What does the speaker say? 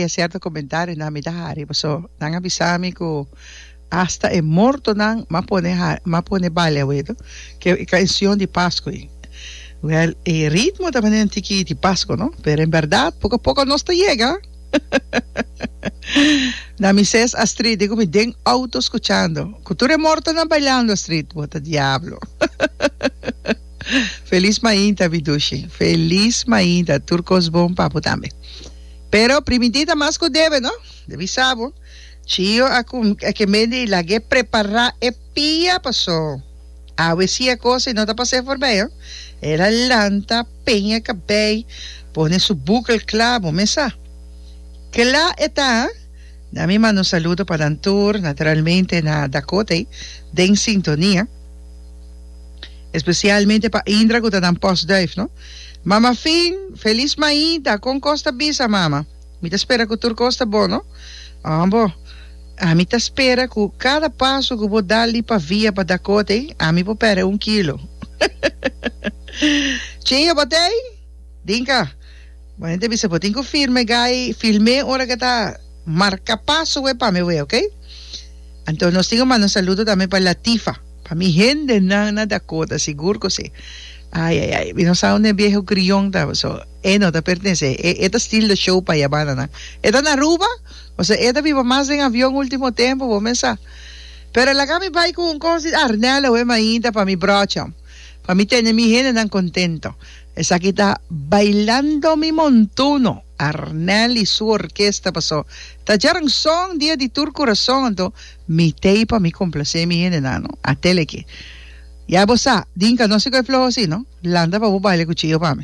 haya cierto comentarionan mi ta hari paso nan a bisa mi cu hasta e mortonan m'a pone m'a pone baile awe ke e cancion di Pasco ei. Wel e ritmo ta manera un tiki di Pasco no pero en berdad poco a poco nos ta yega. Na mi ses Astrid di cu mi den auto scuchando cu tur e mortonan bailando Astrid bo ta diablo. Feliz mainta mi dushi. Feliz mainta tur cos bon pa bo tambe. Pero primintí ta mas cu debe no. Debe sa bo. Chio a cu a kemé di lag'é prepara e pia paso awe si e cos ei no ta pas'é forbij ho. El a lanta peña cabey pone su bukel cla bo mes sa. Cla e ta. Na mi manda un saludo pa nan tur naturalmente na Dakota ei den sintonia. Especialmente pa Indra cu ta nan postduif no. Mama Fin, feliz mainta, con cos ta bisa mama? Mi ta spera cu tur cos ta bon no. Ambo, ami ta spera cu cada paso cu bo dal di Pavia pa Dakota ey, ami por perde un kilo. Chio bo t'ey? Dinka, bo hende bisa bo tin cu firme guy, filme ora cu ta marca paso we pa mi we, ok? Anto nos tin cu manda un saludo tambe pa Latifa. Pa mi hendenan na Dakota sigur ku si. Ai ai ai mi no sa unda e bieho grion ta paso e no ta pertense e e ta steal the show pa ya banda nan. E ta na Aruba paso e ta biba mas den avion ultimo tempo bo mes sa. Pero laga mi bai ku un kos di Arnel awe mainta pa mi brocha pa mi tene mi hendenan kontento. Esaki ta Bailando mi montuno Arnel y su orkesta paso ta djaranson dia di tur kurason anto Mi tei pa mi complacé mi hendenan no. Atele ki. Ya bo sa, Dinka no si ku e floho si no. Lanta pa bo baila ku Chio pa mi.